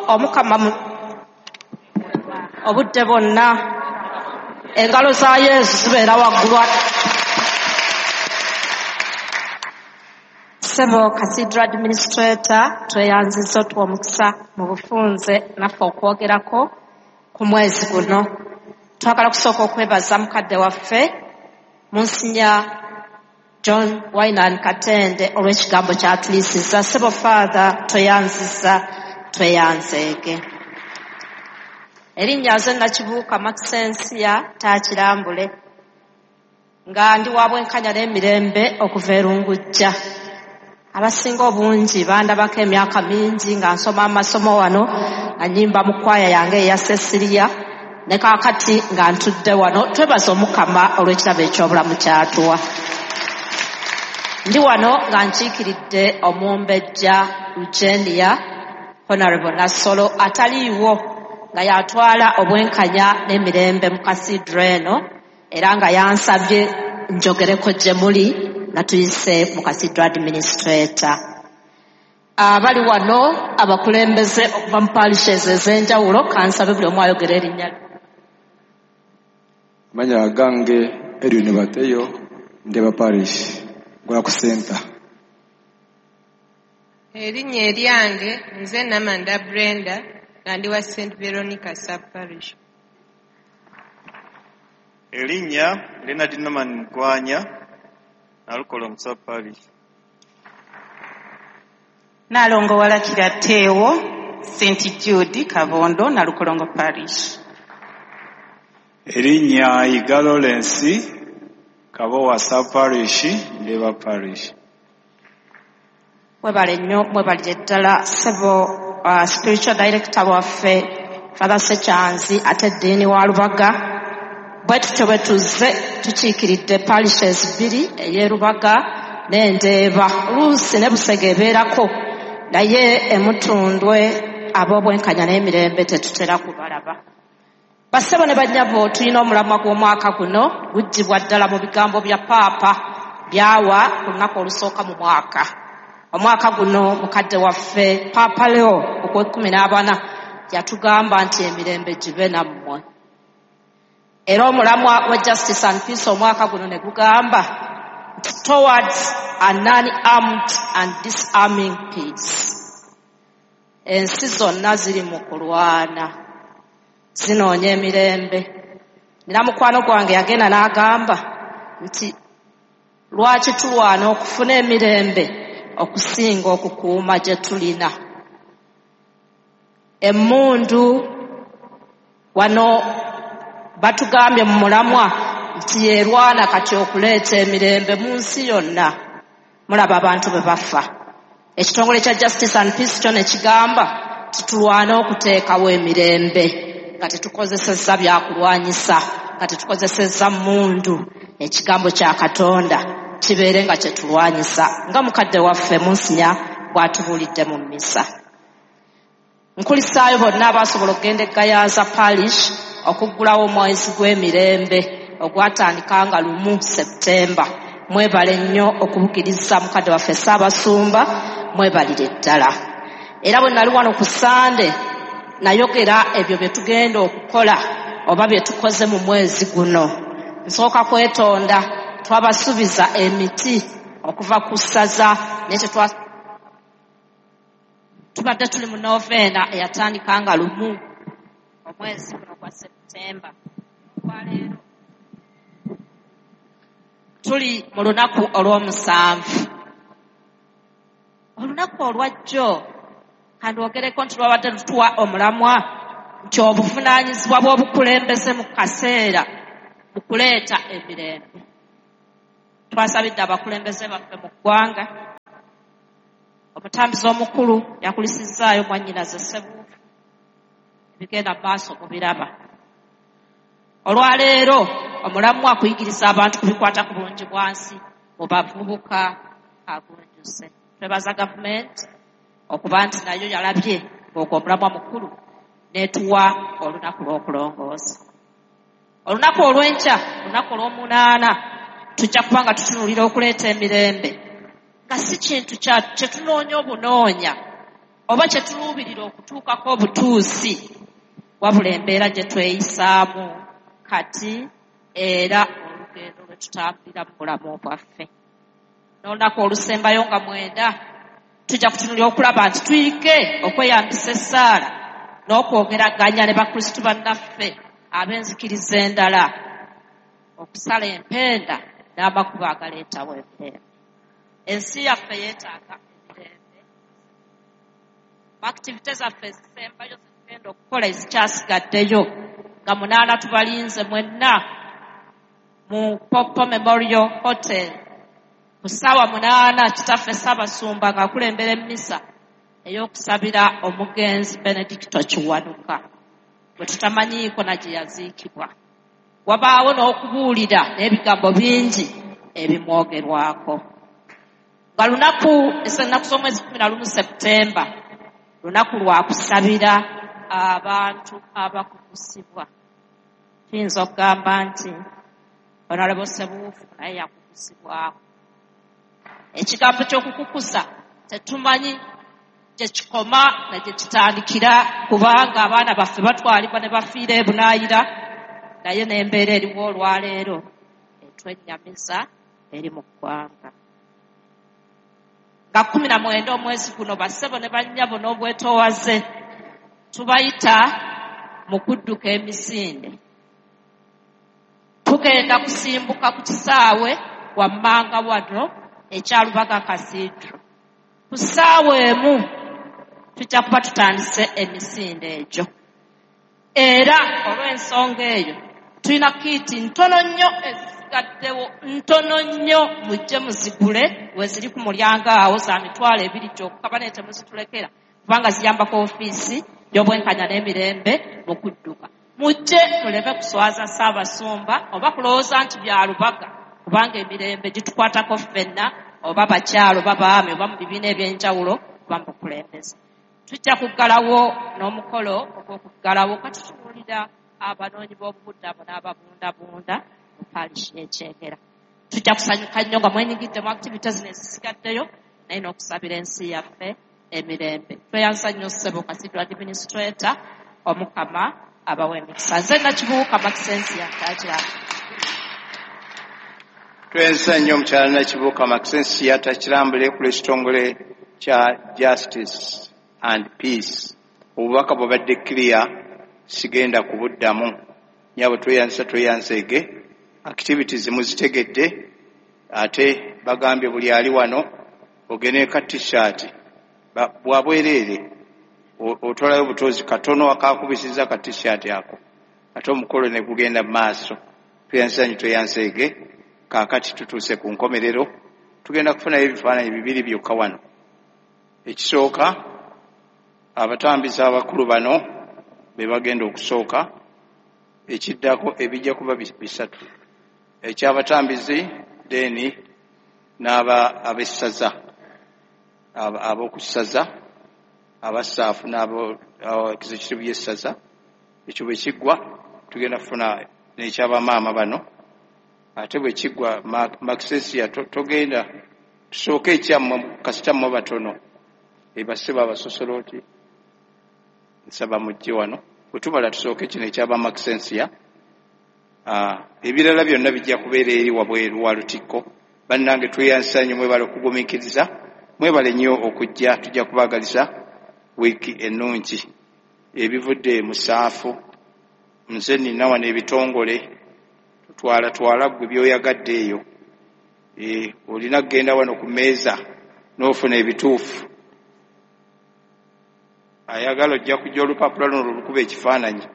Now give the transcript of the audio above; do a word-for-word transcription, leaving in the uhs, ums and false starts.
Omukama obudde bwonna engalo za Yesu zibeera waggulu. Ssebo Cathedral Administrator, tweyanzizza otuwa omukisa mu bufunze naffe okwogerako ku mwezi guno. Twagala kusooka okwebaza mukadde waffe Monsignor John Wainan Katende olw'ekigambo ky'atuliisizza. Ssebo Father, tweyanzizza, tweyanzeege. Erinnya nze Nakibuuka Maxensia Taakirambule, nga ndi wa bwenkanya n'emirembe okuva e Lungujja. Abasinga obungi bandabako emyaka mingi nga nsoma amasomo wano, nga nnyimba mu kwaya yange eya Cecilia, ne kaakati nga ntudde wano. Twebaza Omukama olw'ekirabo eky'obulamu ky'atuwa. Ndi wano nga nkiikiridde omumbejja Eugenia Honorable Nassolo ataliiwo, nga yatwala obwenkanya n'emirembe mu cathedral eno, era nga yansabye njogereko gye muli nga tuyise mu cathedral administrator. Abali wano abakulembeze okuva mu parishes ez'enjawulo, kansabe buli omu ayogere erinnya lye. Amanya gange Edwin Bateyo, Ndeeba Parish, Gwa ku center. Erinnya eryange nze Namanda Brenda, nga ndi wa Saint Veronica Sub Parish. Erinnya Leonard Norman Mugwanya, Nalukolongo Sub Parish. Nalongo Walakira Tewo, Saint Jude Kabondo, Nalukolongo Parish. Erinnya Yiga Lawrence, Kabowa Sub Parish, Ndeeba Parish. Mwebale nnyo, mwebalire ddala. Ssebo uh, spiritual director waffe Father Sekyanzi ate eddiini wa Lubaga, bwe tutyo bwe tuzze tukiikiridde parishes bbiri, ey'e Lubaga n'Endeeba, oluusi ne Busega ebeerako, naye emutundwe ab'obwenkanya n'emirembe tetutera kubalaba. Bassebo ne bannyabo, tulina omulamwa gw'omwaka guno guggyibwa ddala mu bigambo bya Paapa byawa ku lunaku olusooka mu mwaka. Omwaka guno mukadde waffe Paapa Leo ogw'ekkumi n'abana yatugamba nti emirembe gibe nammwe. Era omulamwa wa Justice and Peace omwaka guno ne gugamba nti towards a non-armed and disarming peace. Ensi zonna ziri mu kulwana, zinoonya emirembe. Nina mukwano gwange yagenda n'agamba nti lwaki tulwana okufuna emirembe okusinga okukuuma gye tulina. Emmundu wano batugambye mu mulamwa nti yerwana kati okuleeta emirembe mu nsi yonna. Mulaba abantu bwe bafa. Ekitongole kya Justice and Peace kyo ne kigamba titulwane okuteekawo emirembe nga tetukozesezza byakulwanyisa, nga tetukozesezza mmundu. Ekigambo kya Katonda kibeere nga kyetulwanyisa, nga mukadde waffe Monsignor bw'atubuulidde mu mmisa. Nkulisaayo bonna abasobola okugenda e Gayaza Parish okuggulawo omwezi gw'emirembe ogwatandika nga lumu Septemba. Mwebale nnyo okubukiriza mukadde waffe Ssaabasumba, mwebalire ddala. Era bwe nali wano ku Sande nayogera ebyo bye tugenda okukola oba bye tukoze mu mwezi guno. Nsooka kwetonda, twabasuubiza emiti okuva ku ssaza, naye tetwa tubadde tuli mu noveena eyatandika nga lumu omwezi guno gwa Septemba. Olwaleero tuli mu lunaku olw'omusanvu. Olunaku olwajjo kandwogereko nti lwabadde lutuwa omulamwa nti obuvunaanyizibwa bw'obukulembeze mu kaseera mu kuleeta emirembe. Twasabidde abakulembeze baffe mu ggwanga. Omutambuzi omukulu yakulisizzaayo mwannyinaze Ssebuufu, ebigenda mu maaso mubiraba. Olwaleero omulamwa akuyigiriza abantu ku bikwata ku bulungi bwa nsi mu bavubuka agunjuse. Twebaza gavumenti okuba nti nayo yalabye ng'ogwo omulamwa mukulu n'etuwa olunaku lw'okulongoosa. Olunaku olw'enkya, olunaku olw'omunaana, tujja kuba nga tutunuulira okuleeta emirembe, nga si kintu kye tunoonya obunoonya, oba kye tuluubirira okutuukako obutuusi, wabula embeera gye tweyisaamu kati era olugendo lwe tutambulira mu bulamu bwaffe. N'olunaku olusembayo nga mwenda tujja kutunulira okulaba nti tuyige okweyambisa essaala n'okwogeraganya ne bakristu bannaffe ab'enzikiriza endala okusala empenda n'amakubo agaleetawo emirembe. Ensi yaffe yeetaaga emirembe. Mu activity zaffe ezisembayo zetugenda okukola ezikyasigaddeyo nga munaana tubalinze mwenna mu Popo Memorial Hotel ku ssaawa munaana kitaffe Ssaabasumba ng'akulembera emmisa ey'okusabira omugenzi Benedicto Kiwanuka bwe tutamanyiiko na gye yaziikibwa. Wabaawo n'okubuulira n'ebigambo bingi ebimwogerwako. Nga lunaku ennaku z'omwezi kkumi na lumu Septemba lunaku lwa kusabira abantu abakukusibwa. Tuyinza okugamba nti Honorable Ssebuufu naye yakukusibwako. Ekigambo ky'okukukusa tetumanyi gye kikoma na gye kitandikira, kubanga abaana baffe batwalibwa ne bafiira ebunaayira, naye n'embeera eriwo olwaleero etwennyamiza eri mu ggwanga. Nga kkumi na mwenda omwezi guno bassebo ne bannyabo n'obwetoowaze tubayita mu kudduka emisinde. Tugenda kusimbuka ku kisaawe wammanga wano ekya Lubaga Cathedral. Ku ssaawa emu tujja kuba tutandise emisinde egyo. Era olw'ensonga eyo tulina kiiti ntono nnyo ezisigaddewo, ntono nnyo, mujje muzigule we ziri ku mulyango awo za mitwalo ebiri gyokka, bane temuzitulekera kubanga ziyambako ofiisi y'obwenkanya n'emirembe mu kudduka. Mujje muleme kuswaza Ssaabasumba oba kulowooza nti bya Lubaga, kubanga emirembe gitukwatako ffenna, oba bakyalo oba baami oba mu bibiina eby'enjawulo oba mu bukulembeze. Tujja kuggalawo n'omukolo ogw'okuggalawo ka tutunuulira abanoonyi b'obubudamu n'ababundabunda mu parish y'e Kyengera. Tujja kusanyuka nnyo nga mwenyigidde mu activity zino ezisigaddeyo, naye n'okusabira ensi yaffe emirembe. Tweyanza nnyo ssebo Cathedral Administrator, Omukama abawe emikisa. Nze Nakibuuka Maxensia Takira. Tweyanza nnyo omukyala Nakibuuka Maxensia Takirambule ku lw'ekitongole kya Justice and Peace. Obubaka bubadde clear, sigenda kubuddamu. Nyabo tweyanza tweyanzeege, activities muzitegedde, ate bagambye buli ali wano ogende ka t-shirt bwa bwereere, otwalayo obutozi katono akakubisiza ka t-shirt ako, ate omukolo ne gugenda mu maaso. Tweyanza nnyo tweyanzeege. Kaakati tutuuse ku nkomerero, tugenda kufunayo ebifaananyi bibiri byokka wano. Ekisooka, abatambizi abakulu bano be bagenda okusooka, ekiddako ebijja kuba bisatu, ekyabatambizi then n'aba ab'essaza ab'okussaza abasaafu n'abo executive y'essaza. Ekyo bwe kiggwa tugenda kufuna n'ekyabamaama bano, ate bwe kiggwa Maxensia togenda tusooke ekyammwe kasita mmwe batono ebasebo abasosolooti nsaba mujje wano. Bwe tumala tusooke kino ekyaba Maxensia, ebirala byonna bijja kubeera eri wabweru wa Lutikko. Bannange tweyansa nnyo, mwebale okugumiikiriza, mwebale nnyo okujja, tujja kubaagaliza wiiki ennungi. Ebivudde mu saafu, nze nina wano ebitongole, twala twala ggwe by'oyagadde eyo. E, olina kugenda wano ku mmeeza n'ofuna ebituufu. Ayagala ojja kujja olupapula luno lukuba ekifaananyi.